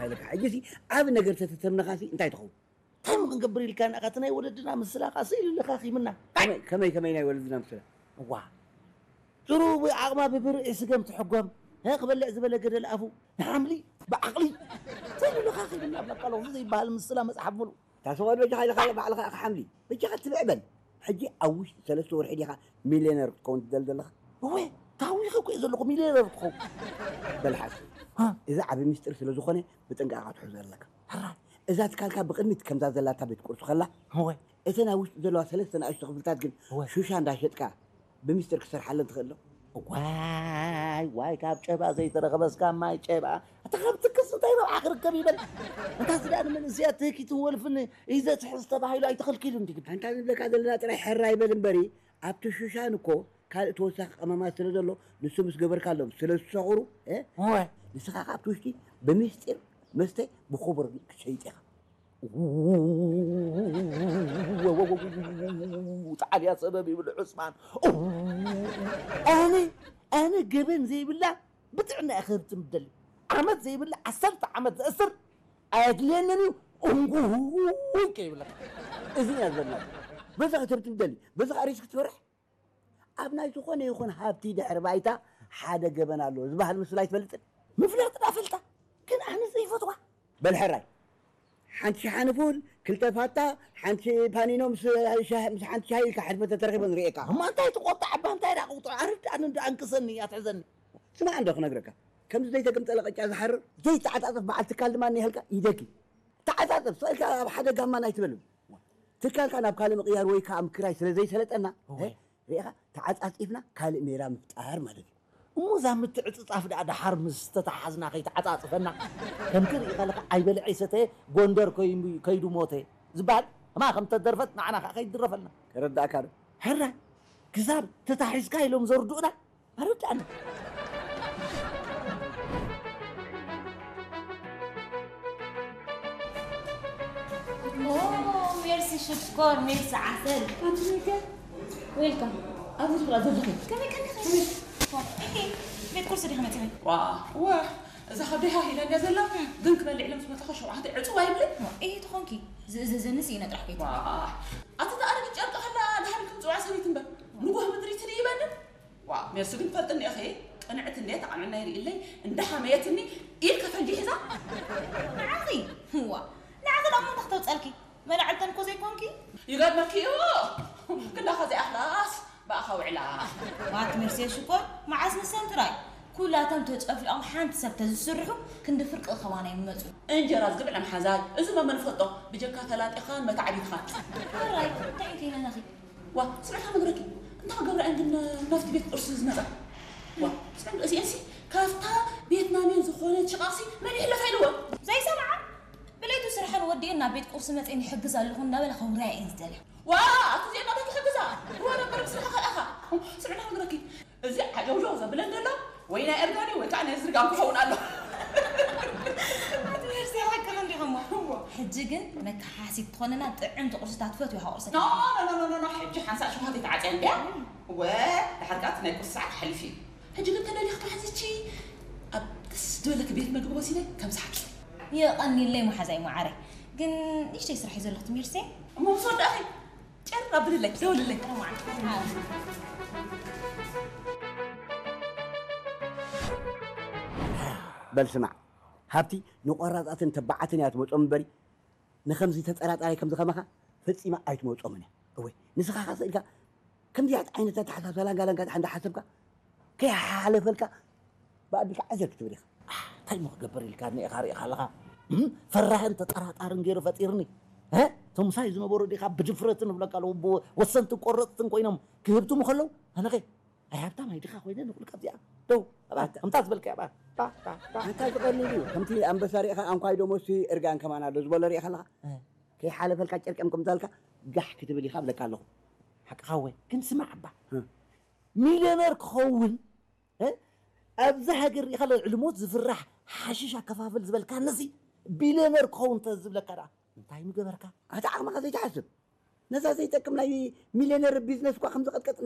ኣለካ። ሕጂ ሲ ዓብ ነገር ተተተምነኻ ሲ እንታይ ትኸውን? እንታይ ሞ ክንገብር ኢልካ ንኣኻ እቲ ናይ ወለድና ምስላ ኸዓ ስኢሉ ለኻኺምና። ከመይ ከመይ ከመይ ናይ ወለድና ምስላ? እዋ ጽሩብ ዓቕማ ብብርዒ ስገም ትሕጎም። ሀ ክበልዕ ዝበለ ገደል ኣፉ ንሓምሊ ብዓቕሊ ስኢሉ ለኻኺምና። በቃ ሎዚ ዘይበሃል ምስላ መጽሓፍ ሙሉ። ታስቆድ በጃኻ ኢልካ ባዕልኻ ኢኻ ሓምሊ። በጃኻ ትብዕ በል። ሕጂ ኣብ ውሽጢ ሰለስተ ወርሒ ዲኻ ሚልዮነር ክትከውን ትደሊ ዘለኻ? እወ፣ ታዊኸ እኮ እየ ዘለኹ ሚልዮነር ክትኸውን። በል ሓሱ። ሃ? እዚ ዓቢ ሚስጥር ስለ ዝኾነ ብጥንቃቐ ክትሕዞ ኣለካ። ሕራይ። እዛ ትካልካ ብቕድሚት ከምዛ ዘላታ ቤት ቁርሲ ከላ፣ እወ። እተን ኣብ ውሽጢ ዘለዋ ሰለስተ ንኣሽቱ ክፍልታት ግን እወ። ሹሻ እንዳሸጥካ ብሚስጥር ክትሰርሓለን ትኽእል ዶ? ዋይ ዋይ፣ ካብ ጨባ ዘይተረኸበስ ካብ ማይ ጨባ። ኣታ ካብ ትክስ እንታይ ረብሓ ክርከብ ይበል? እንታ ስዳ ንመንእሰያት ትህኪትን ወልፍን እዩ ዘትሕዝ ተባሂሉ ኣይተኸልኪሉ እንዲ ግን። ኣንታ ንብለካ ዘለና ጥራይ ሕራይ በል እምበሪ፣ ኣብቲ ሹሻን እኮ ካልእ ተወሳኺ ቀመማት ስለ ዘሎ ንሱ ምስ ገበርካሎም ስለ ዝሰኽሩ፣ እ? እወ። ንስኻ ካብቲ ውሽጢ ብምስጢር መስተ ብኽቡር ክትሸይጥ ኢኻ። ጣዕልያ ሰበብ ይብል ዑስማን። ኣነ ኣነ ገበን ዘይብላ ብጥዕና እየ ክህብቲ ምደሊ። ዓመት ዘይብላ ዓሰርተ ዓመት ዘእስር ኣየድልየንን እዩ። እንጉ ከይብለካ እዚ እያ ዝበልና። በዛ ክትህብቲ ምደሊ በዛ ሪስክ ትፈርሕ ኣብ ናይ ዝኾነ ይኹን ሃብቲ ድሕሪ ባይታ ሓደ ገበን ኣለዎ ዝበሃል ምስላ ኣይትፈልጥን? ምፍላጥ ዳ ፈልጣ ግን ኣነ ዘይፈትዋ። በል ሕራይ ሓንቲ ሸሓኒ ፉል ክልተ ፋታ ሓንቲ ፓኒኖ ምስ ሻሂ- ምስ ሓንቲ ሻሂ ኢልካ ሕድመ ተተረኺቦ ንርእየካ። እማ እንታይ ትቆጣዕ እባ እንታይ ዳ ቁጥዑ ኣርዳእኒ እንዳ ኣንቅሰኒ ኣትሕዘኒ። ስማዕ እንዶ ክነግረካ ከምዚ ዘይተገምጠለ ቅጫ ዝሓርር ዘይተዓጻጸፍ በዓል ትካል ድማ እኒሀልካ ይደጊ ተዓጻጸፍ ስእልካ ኣብ ሓደ ጋማ ናይ ትበልም ትካልካ ናብ ካልእ ምቕያር ወይ ከዓ ምክራይ ስለ ዘይሰለጠና እወ። ሪኢኻ ተዓጻጺፍና ካልእ ሜላ ምፍጣር ማለት እዩ። እሞ እዛ ምትዕጽጻፍ ደኣ ደሓር ምስ ተተሓዝና ከይተዓጻጽፈና ከምቲ ርኢኻ ኣለኻ ኣይበልዐ ይሰተየ ጎንደር ከይዱ ሞተ ዝበሃል እማ ከም ተደርፈት ንዓና ከዓ ከይድረፈልና ተረዳእካ ዶ? ሕራይ ክሳብ ተታሒዝካ ኢሎም ዘርድኡና ኣረዳእና። ሜርሲ ሽኮር ሜርሲ ዓሰል። ዌልካም። ኣብዚ ዝኽራ ዘለኺ ከመይ ከመይ ከመይ? ቤት ቁርሲ ዲኻ መፂኺ? ዋ ዋ እዛ ከብደይ ሃሂላኛ ዘላ ግን ክበልዕ ኢለ ምስ መጣኹ ሸውዓተ ዕፅዋ ይብለይ። እየ ትኾንኪ ዝእዘዘኒ ስኢነ ጥራሕ ከይት። ኣቲ ተኣረጊ ጨርቂ ከላ ድሓን ክምፅዋ ሰበይቲ እምበር ንጎህ ምድሪ ትድይበኒ። ዋ ሜርሲ ግን ትፈልጥኒ ኢኺ ቅንዕቲ እንድየ ተቓንዕና ይርእለይ እንዳሓመየትኒ ኢድ ከፈንጂ ሒዛ። ንዓኺ ዋ ንዓኺ ደኣ እሞ እንታይ ክተውፀልኪ መላዕልተን እኮ ዘይኮንኪ። ይገርመኪ እዩ ክንዳኻ ዘይኣኽላስ ብኣኻ ውዕላ። ዋት ሜርሲ ሽኮር መዓስ ንሰን ጥራይ ኩላቶም ተጨፍሊቖም ሓንቲ ሰብ ተዝስርሑ ክንዲ ፍርቂ ከማና ይመፁ። እንጀራ ዝግብዕ ለምሓዛይ እዚ መመን ፈልጦ ብጀካ ተላጢኻን መታዕቢትኻን። ሕራይ እንታይ ከይነናኺ ዋ ስምዕካ ነግረኪ እንታ ክገብራ እየን ግን ናብቲ ቤት ቁርሲ ዝመፃ ዋ ስምዕ እዚአንሲ ካብታ ቤትናሜን ዝኾነት ሽቓቕሲ መን ይሕለፋ ኢልወን ዘይሰምዓ ብለይቱ ስርሐን ወዲአን ናብ ቤት ቁርሲ መፅአን ይሕግዝ ኣለኹ እናበላ ከውርያ እየን ዝደልያ ዋ ኣቲ እዚአን ናታ ክሕግዛ ዋ ነበር ብስርሓ ካልኣኻ ስምዕና ነግረኪ እዚ ዓጀውጀው ዘብለን ዘሎ ወይ ናይ እርጋኒ ወይ ከዓ ናይ ዝርጋም ክኸውን ኣሎ ሕጂ ግን መከሓሲት ትኾነና ጥዕምቲ ቁርስታት ትፈትዊ ሃቁርሰ ሕጂ ሓንሳእ ሽኳት ይተዓፅያ እንድያ ወ ድሓር ከዓ ናይ ቁርሲ ሰዓት ሓሊፉ እዩ ሕጂ ግን ተደሊኽ ተሓዚቺ ኣብ ደስ ዝበለክ ቤት መግቢ ወሲደ ከም ሰሓቂ የቐኒለይ መሓዛይ መዓረይ ግን ንሽተይ ስራሕ እዩ ዘለኹ ትምህርሲ እሞ ምስ ወዳእኺ ጨር ኣብልለይ ደውልለይ በል ስማዕ ሃብቲ ንቆራፃትን ተባዓትን እያ ትመፆም እምበሪ ንከምዚ ተጠራጣራይ ከምዚ ከማኻ ፈፂማ ኣይትመፆምን እያ እወ ንስኻ ኸ ስእልካ ከምዚያት ዓይነት ኣተሓሳስባ ላንጋ ላንጋ ድሓ እንዳሓሰብካ ከይሓለፈልካ ብኣቢልካ ዓዘር ክትብል ኢኻ እንታይ ሞ ክገብር ኢልካ እኒኤኻ ርኢኻ ኣለኻ ፈራህን ተጠራጣርን ገይሩ ፈጢርኒ ቶምሳይ ዝነበሩ ዲኻ ብድፍረትን ብለካ ኣለዉ ወሰንትን ቆረፅትን ኮይኖም ክህብትሙ ከለዉ ኣነኸ ኣይ ሃብታም ኣይ ድኻ ኮይነ ንኹልካ እዚኣ ደው ኣባ ከምታ ዝበልካ ኣባ ኣንታ ዝቐሊል እዩ ከምቲ ኣንበሳ ርኢኻ ኣንኳይ ደሞሲ እርጋን ከማን ኣሎ ዝበሎ ርኢኻ ኣለኻ ከይሓለፈልካ ጨርቀም ከምታልካ ጋሕ ክትብል ኢኻ ብለካ ኣለኹ ሓቅኻ ወይ ግን ስማዕ ኣባ ሚልዮነር ክኸውን ኣብዚ ሃገር ርኢኻ ኣሎ ልሞት ዝፍራሕ ሓሽሽ ኣከፋፍል ዝበልካ ነዚ ቢልዮነር ክኸውን ተዝብለካ ደኣ እንታይ ምገበርካ ኣታ ዓቕምኻ ዘይትሓስብ ነዛ ዘይጠቅም ናይ ሚልዮነር ቢዝነስ እኳ ከምዝቐጥቀጥ